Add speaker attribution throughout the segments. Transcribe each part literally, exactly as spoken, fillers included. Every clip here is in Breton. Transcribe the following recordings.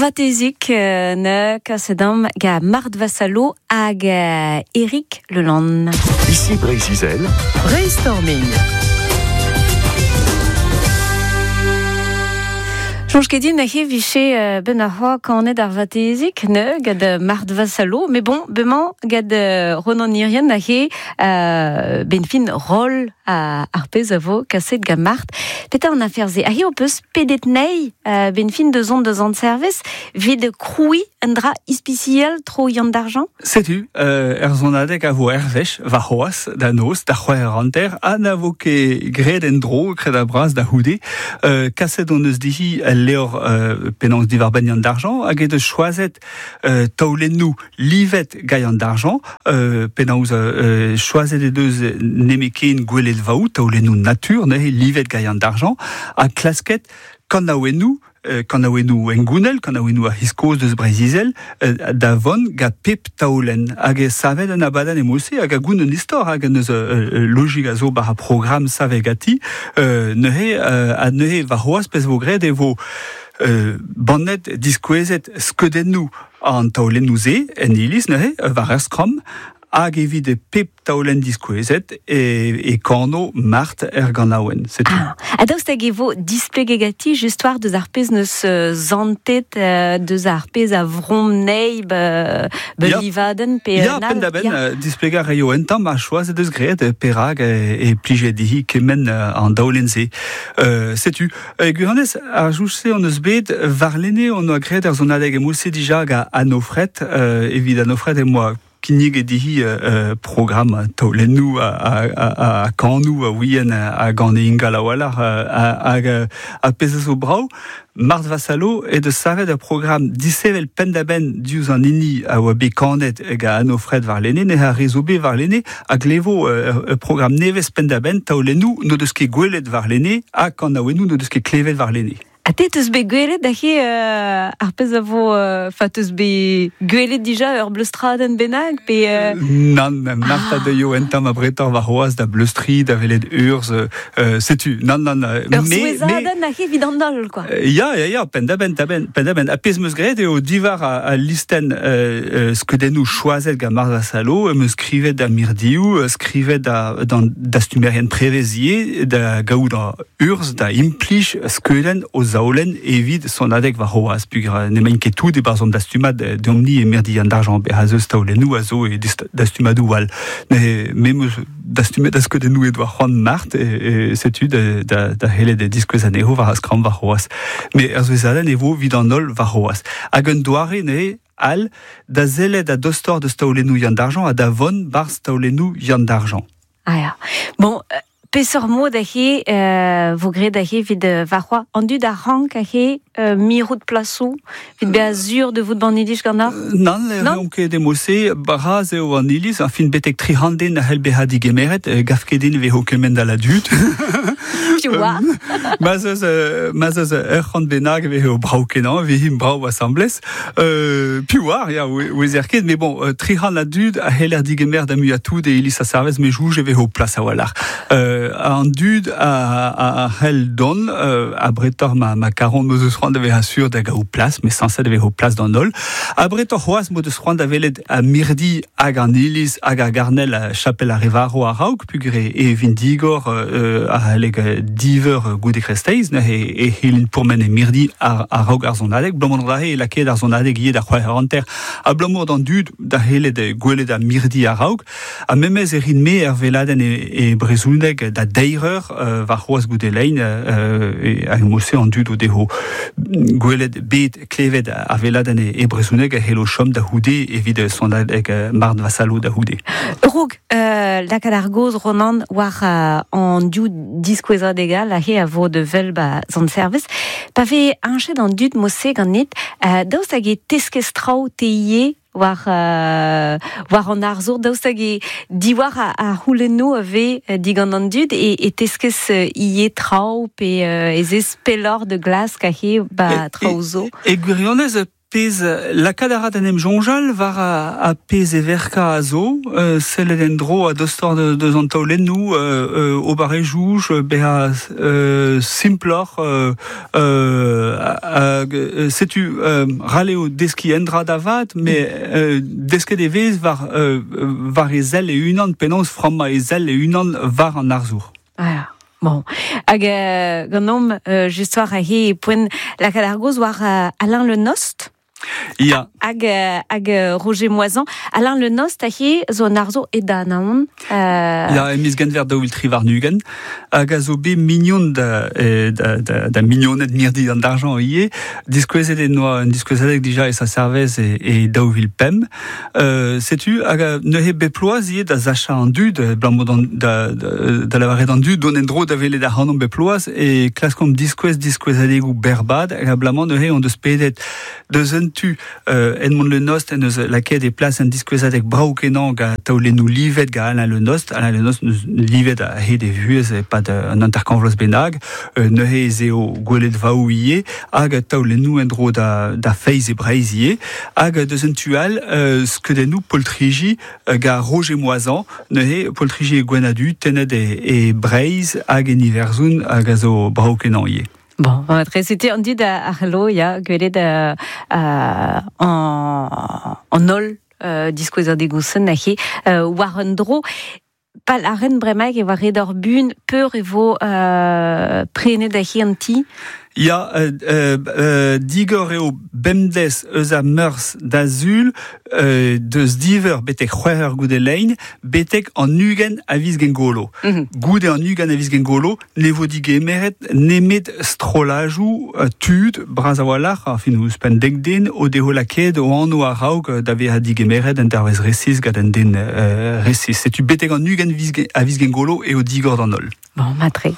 Speaker 1: vatezik euh, ne kasedam ga Marthe Vassalo hag euh, Eric Leland.
Speaker 2: Ici Brésil.
Speaker 3: Brainstorming.
Speaker 1: Soñj ket din a-he viche euh, ben ar c'hoa kanet ar vatezik, ne, gad Marthe Vassalo, mais bon, bemañ gad euh, Ronan Irien a-he euh, ben fin roll a ar pezh a vo kaset gant Marthe. Petra an afer ze, a-he o peus pedet nei euh, ben fin deus on deus an service, vid kroui un dra ispicial tro Yann d'argent?
Speaker 4: Setu, euh, er zonadeg a vo ervech, va c'hoaz, da noz, da c'hwec'h hanter, ha na vo ket graet en dro, kred a braz da c'houde, euh, kaset on eus dihi leor euh, penaos diwar ben Yann d'argent, hag e deus choazet euh, taolennoù livet gant Yann d'argent, euh, penaos euh, choazet e deus nemeken gwelet vaou, taolennoù natur, neuze livet gant Yann d'argent, ha klasket kanaouennoù, euh, kanaouennoù engounel, kanaouennoù a hiskoz deus Breizh-Izel, euh, da vont ga pep taolenn. Hag e savet an abadenn e mose, hag a goun un istor, hag an eus euh, logik a zo bar a programm savet gati, euh, neuze, euh, ha neuze war c'hoazh pezh vo graet e vo euh, bannet diskouezet skeudennoù an taolennoù se en iliz neuze, war ar skramm, hag evit pep taolenn diskouezet e, e kano Marthe er ganaouenn. C'est tout.
Speaker 1: Ah, ha daoust hag e vo displeget ganti just war deus ar pezh neus euh, zantet euh, deus ar pezh a vrom nei be, be
Speaker 4: Ya.
Speaker 1: livadenn pe
Speaker 4: Ya,
Speaker 1: nal.
Speaker 4: penn da benn,
Speaker 1: Ya.
Speaker 4: euh, displegañ reio en tamm a choaz deus graet euh, perak e, e plijet dihi kement euh, an daolenn se. Euh, setu, e gwirionez, ar jouj-se on eus bet warlene on oa graet ar zonadeg e mouse dija ga Anofret, euh, evit Anofret e moa kinnig e dihi euh, programm taolennoù a, a, a, a kanoù a ouien a gant e ingal a-walc'h hag a pezh a zo brav. Marthe Vassalo e deus savet ur programm disevel penn-da-benn diouzh an hini a oa bet kanet ga Anofret warlene, ne a re zo bet warlene, a glevo euh, ur programm nevez penn-da-benn taolennoù n'o deus ket gwelet warlene ha kanaouennoù n'o deus ket klevet warlene.
Speaker 1: Ha te teus bet gwelet da he euh, ar pezh a vo euh, fa teus bet gwelet dija ur bleustradenn bennak pe euh,
Speaker 4: Nann, Marthe a deuio en tamm a bretor war c'hoazh da bleustri, da welet urzh, euh, setu, nann, nann,
Speaker 1: ur
Speaker 4: me, me,
Speaker 1: souezhadenn a he evit an holl, quoi.
Speaker 4: Euh, Ya, ya, ya, penn da benn, da benn, penn da benn. A pezh meus graet eo diwar a, a listenn euh, euh, skeudennoù choazet gant Marthe Vassalo, meus skrivet da mirdioù, euh, skrivet da, d'an dastumerien prevezier, da gaout da urzh, da implij skeudenn o zaolenn evit sonadeg war c'hoazh, pugur n'emaint ket tout e-barzh an dastumad deomp-ni e mirdi an d'argent, be a zeus taolennoù a zo e dist- dastumadoù all. Ne, me meus dastumet a skeudennoù e doa c'hoant Marthe, e, e setu da, da, da helet e diskouez anezho war ar skramm war c'hoazh. Me er souezhadenn e vo evit an holl war c'hoazh. Hag un doare neuze all da sellet a dostoc'h deus taolennoù Yann d'argent ha da vont barzh taolennoù Yann d'argent.
Speaker 1: Ah ya. Bon, euh, peseurt mod a he euh, vo graet a he evit euh, war c'hoazh an dud a rank a he euh, mirout plasoù, evit bezañ sur de vout ban iliz ganeoc'h?
Speaker 4: Nann, ne
Speaker 1: Nann?
Speaker 4: reomp ket e-mod-se, bras eo an iliz, an fin betek tri c'hant den a c'hell bezañ digemeret, euh, gav ket din e vezo kement a la dud.
Speaker 1: Piv oar?
Speaker 4: Ma zeus, euh, ma zeus ur c'hant bennak e vezo brav kenañ, e vezimp brav asambles. Euh, piv oar, ya, ouezer ket, mais bon, euh, tri c'hant a dud a c'heller digemer da muiañ tout e iliz a serviz, me jouj e vezo plas a-walc'h. Euh, an dud a, a, a c'hell dont, euh, a bretor ma, ma karont m'eus eus c'hoant da vezañ sur da gaout plas, mais sañset e vezo plas d'an holl. A bretor c'hoazh m'o deus c'hoant da welet a mirdi hag an iliz hag ar garnel a chapel ar Revaro a-raok, pugur e, e vin digor, euh, a c'halleg diveur goude kresteiz, neuze e, e c'hellint pourmen e mirdi ar, a-raok ar zonadeg, abalamour da e lakaet ar zonadeg ivez da c'hwec'h hanter, abalamour d'an dud da c'hellet gwelet a mirdi a-raok, ha memez e rin-me er veladenn e, e brezhoneg da deir eur, euh, war c'hoazh goude lein, euh, e, hag mose an dud o deho gwelet bet klevet ar veladenn e, e brezhoneg a c'hello chom da c'houde evit sonadeg Marthe Vassalo da c'houde.
Speaker 1: Raok, euh, lakaat ar gaoz Ronan war euh, an div diskouezadeg all a he a vo de vel ba zant service. Pa vez añchet an dud mose ganit, euh, daoust hag e teskez traoù te ivez war, euh, war an arzour, daoust hag e diwar a, a c'houlennoù a vez digant an dud e, e teskez ivez traoù pe euh, ez ez pelloc'h de glask a he ba
Speaker 4: E,
Speaker 1: traoù zo.
Speaker 4: E, e gwirionez, pez lakaat a ra d'en em soñjal war a, a pez e verka a zo, euh, sellet en dro a dostor de, deus an taolennoù, euh, euh, ober e jouj, bezañ euh, simploc'h, euh, euh, hag, euh, setu euh, ral eo deskiñ un dra da vat, met euh, desket e vez war, euh, war e sell e unan, penaos frammañ e sell e unan war an arzour.
Speaker 1: Ah, bon. Hag euh, ganeomp euh, just war aze e poent lakaat ar gaoz war euh, Alain Le Nost.
Speaker 4: Ya.
Speaker 1: Hag, euh, hag euh, Roger Moisan. Alain Le Nost aze zo un arzour e da Anaon. Euh...
Speaker 4: Ya, e miz Genver daou vil tri warn-ugent, hag a zo bet mignon da, eh, da, da, da mignoned mirdi an Argent ivez, diskouezet en doa un diskouezadeg dija e Sant-Servez e, e daou vil pemp. Euh, setu, hag a neuze bep bloaz ivez da sachañ an dud, abalamour d'an, da, da, da lavaret d'an dud, dont en-dro da welet ac'hanomp bep bloaz, e klaskomp diskouez diskouezadegoù berrbad, hag abalamour neuze hon deus pedet deus un tu euh, Edmond Le Nost en deus lakaet e plas un diskouezadeg brav kenañ gant taolennoù livet gant Alain Le Nost. Alain Le Nost neus livet a-hed e vuhez e-pad un hanter-kant vloaz bennak, euh, neuze ez eo gweledvaoù ivez, hag taolennoù en-dro da, da feiz e Breizh ivez, hag deus un tu all euh, skeudennoù poltriji euh, gant Roger Moisan, neuze poltriji e gwenn-ha-du tennet e, e Breizh hag en Iwerzhon hag a zo brav kenañ ivez.
Speaker 1: Bon, tre setu an dud a, a c'hello, ya, gwelet euh, euh, an, an holl euh, diskouezadegoù-sen aze euh, war un dro. Pal a ren bremaik e war red ur bun peur e vo euh, prenet aze an ti.
Speaker 4: Ya, euh, euh, digor eo bemdez eus a Meurzh da Sul, euh, deus div eur betek c'hwec'h eur goude lein, betek an ugent a viz Gwengolo.
Speaker 1: Mm -hmm.
Speaker 4: Goude an ugent a viz Gwengolo, ne vo digemeret nemet strollajoù euh, tud, bras a-walc'h, enfin ouzhpenn dek den, o devo lakaet o anv a-raok da vezañ digemeret un dervezh resis gant un den euh, resis. Setu betek an ugent a viz Gwengolo eo digor d'an holl.
Speaker 1: Bon, matre.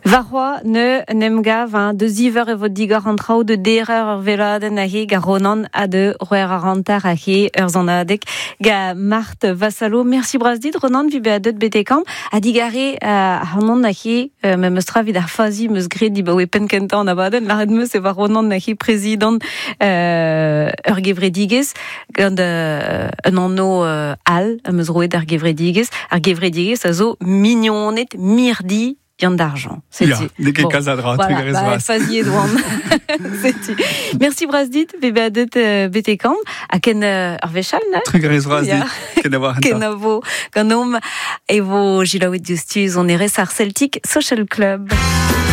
Speaker 1: Warc'hoazh ne en em gav, hein, deus div eur e vo digor an traoù de deir eur ur weladenn aze gant Ronan ha de c'hwec'h eur hanter aze ur sonadeg gant Marthe Vassalo. Mersi bras dit, Ronan, evit bezañ deut betek amañ ha digarez euh, ac'hanon aze euh, memes tra evit ar fazi 'm eus graet dibaoe penn kentañ an abadenn, lâret 'm eus e oa Ronan aze prezidant euh, ur gevredigezh gant euh, un anv euh, all am eus roet ar gevredigezh. Ar gevredigezh a zo mignoned mirdi Yann d'Argent.
Speaker 4: Ya, n'eo ket kalz a dra,
Speaker 1: Voilà, bah, faziet oan. Setu. Mersi bras dit, evit bezañ deut euh, betek amañ, ha ken euh, ur wech all, ne?
Speaker 4: Trugarez bras dit, kenavo ar
Speaker 1: Kenavo ganeomp e vo selaouet diouzhtu sonerezh ar Celtic Social Club.